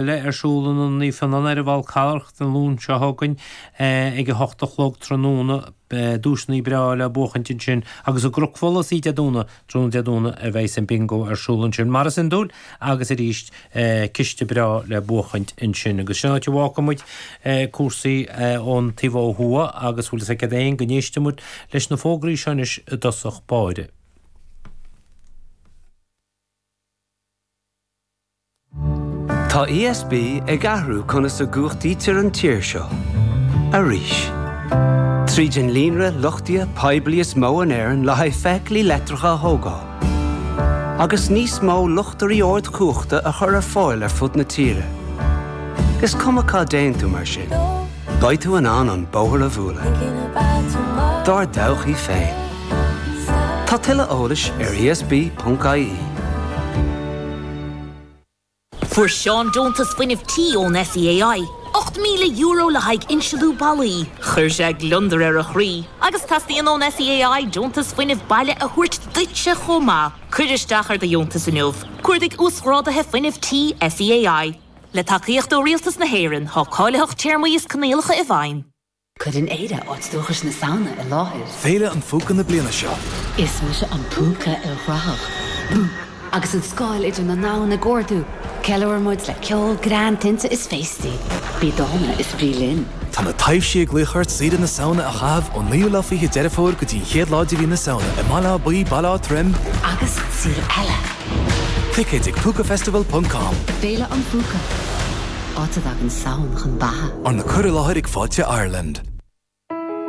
Eile ar siúl in Ionad Naomh Fionnán ar an bhFál Carrach Dé Luain seo chugainn ag 8 a chlog tráthnóna. Duaiseanna breá le buachaint ansin agus i gCnoc Fola Dé Domhnaigh, tráthnóna Dé Domhnaigh a bheidhs an Bingo ar siúl ansin mar is iondúil agus arís ciste breá le buachaint ansin. Agus sin áit a bhfágfaidh muid cúrsaí ón taobh ó thuaidh agus bhfuil fhios agat féin go n-éistfidh muid leis na fógraí seo anois i dtosach báire. Tá ESB ag athrú conas a gcumhachtaítear an tír seo. Arís. Tríd an líonra luchtaithe poiblí is mó in Éirinn le haghaidh feithiclí leictreacha a thógáil. Agus níos mó luchtairí ardchumhachta a chur ar fáil ar fud na tíre. Is cuma cá dtéann tú mar sin, beidh tú in ann an bóthar a bhualadh. Dár dtodhchaí féin. Tá tuilleadh eolais ar esb.ie. Fuair Seán deontas fuinnimh tí ón SEAI, €8,000 le haghaidh insealú ballaí. Chuir sé gliondar ar a chroí agus teastaíonn ón SEAI deontas fuinnimh baile a thabhairt duitse chomh maith. Cuir isteach ar do dheontas inniu. Cuardaigh Uasghráduithe Fuinnimh Tí SEAI. Le tacaíocht ó Rialtas na hÉireann, tá cáilitheacht, téarmaí is coinníollacha i bhfeidhm. Cuireann Éire áit dúchais na Samhna i láthair. Féile an Phúca na bliana seo. Is mise an púca ilchruthach. Bú! Agus an scáil idir na ndomhan ag ardú, ceiliúrann muid le ceol, greann, tinte is féastaí. Bí dána is bí linn. Tá na taibhsí ag glaoch ort saoire na Samhna a chaitheamh ón 9ú lá fichead Deireadh Fómhair go dtí an chéad lá de mhí na Samhna i mBaile Átha Buí, Baile Átha Troim, Agus saol eile. Ticéid ag púcafestival ponc com. Féile an Phúca. Áit a dtagann Samhain chun beatha. Arna cur i láthair ag Fáilte Ireland.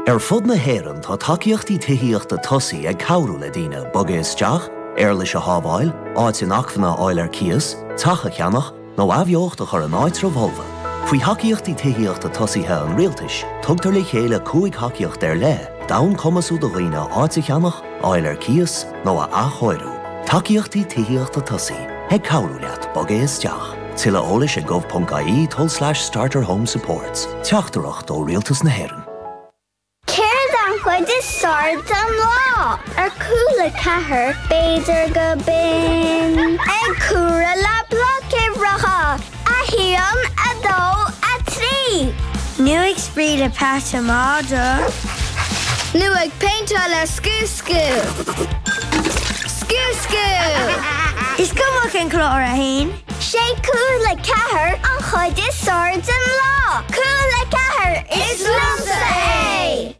Ar fud na hÉireann tá tacaíochtaí tithíochta tosaigh ag cabhrú le daoine bogadh isteach, éarlais a shábháil, áit inacmhainne a fháil ar cíos, teach a cheannach, nó athbheocht a chur in áitreabh folmha. Faoi Thacaíochtaí Tithíochta Tosaithe an Rialtais, tugtar le chéile 5 thacaíocht ar leith d'fhonn cumasú do dhaoine áit a cheannach, a fháil ar cíos nó a athchóiriú. Tacaíochtaí Tithíochta Tosaigh, ag cabhrú leat bogadh isteach. Tuilleadh eolais ag gov.ie tulslais starterhomesupports. Teachtaireacht ó Rialtas na hÉireann. Céard an chuid is fearr den lá? Ar Cúla 4, b'fhéidir go binn ag comhaireamh le blocuimhreacha, 1, 2, 3. Nó ag spraoi le peata madra. Nó ag péinteáil le Scú Scú. Scú Scú! Is cuma cén clár a haon. Sé Cúla 4 an chuid is fearr den lá! Cúla 4, is liomsa é!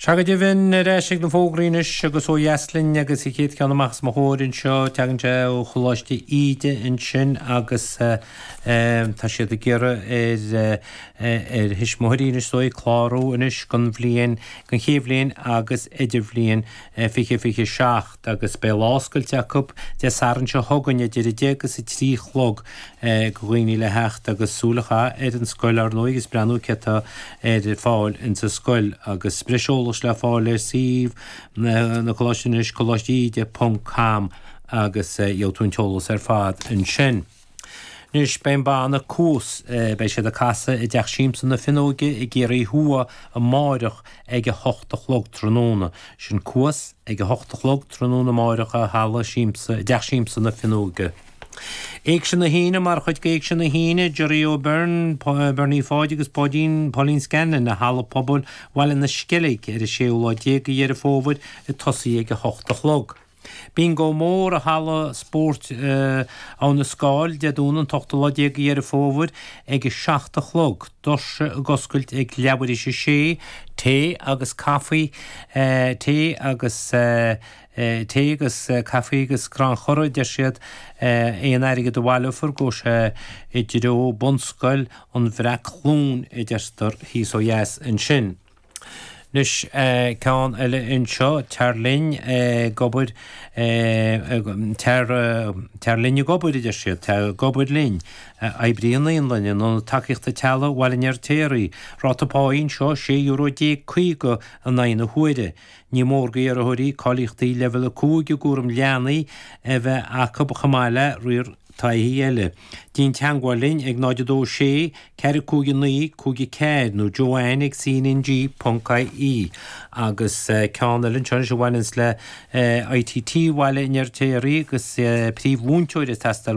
Sea go deimhin, ar ais ag na fógraí anois agus ó dheas linn agus an chéad cheann amach os mo chomhair anseo, tagann sé ó Choláiste Íde ansin agus tá siad ag iarraidh ar ar thuismitheoirí anois is dóigh clárú anois don bhliain, don chéad bhliain agus idirbhliain 2027. agus beidh lá oscailte acu Dé Sathairn seo chugainn idir 10 agus 3 a chlog do dhaoine le theacht agus súil a chaitheamh ar an scoil ar ndóigh agus breathnú cé atá ar fáil insa scoil agus breis eolais le fáil ar suíomh na Coláiste anois, coláisteíde ponc com agus gheobhaidh tú an t-eolas ar fad ansin. Anois, beidh an banna Cuas, beidh siad ag casadh i dTeach Siamsa na Finneoige i gCiarraí Thuaidh amáireach ag a hocht a chlog tráthnóna. Sin Cuas ag a hocht a chlog tráthnóna amáireach i Halla Siamsa, i dTeach Siamsa na Finneoige. Éigse na hAoine Mar chuid d'Éigse na hAoine, Gerry O'Beirne, Bernie Pháid agus Páidín, Pauline Scanlon i Halla Pobail Bhaile na Sceilge ar an séú lá déag de Dheireadh Fómhair ag tosaí ag a hocht a chlog. Bingo mór i Halla Spóirt Abha na Scáil Dé Domhnaigh an t-ochtú lá déag de Dheireadh Fómhair ag a 7 a chlog. Doirse ag oscailt ag leathuair théis a sé. Tae agus caife, tae agus tae agus caife agus crannchur a deir siad. Aon airgead a bhaileofar gabhfaidh sé i dtreo Bunscoil an Bhreac-Chluain a deirtear thíos ó dheas ansin. Anois, ceann eile anseo, tar linn ag obair, tar, tar linn ag obair, a deir siad, tar ag obair linn. Oibrí i naíolann, in Ionad Tacaíochta Teaghlaigh Bhaile an Fheirtéaraigh. Ráta pá anseo, €16 50 in aghaidh na huaire. Ní mór d'iarrthóirí cáilíochtaí Leibhéal 5 i gcúram leanaí a bheith acu chomh maith le riar. taithí eile. Déan teangmháil linn ag 0 2 6 4 5 9 5 4 nó Joanne ag cnng ponc ie Agus ceann eile anseo anois a bhaineanns le ITT Bhaile an Fheirtéaraigh agus príomh-mhúinteoir ag teastáil.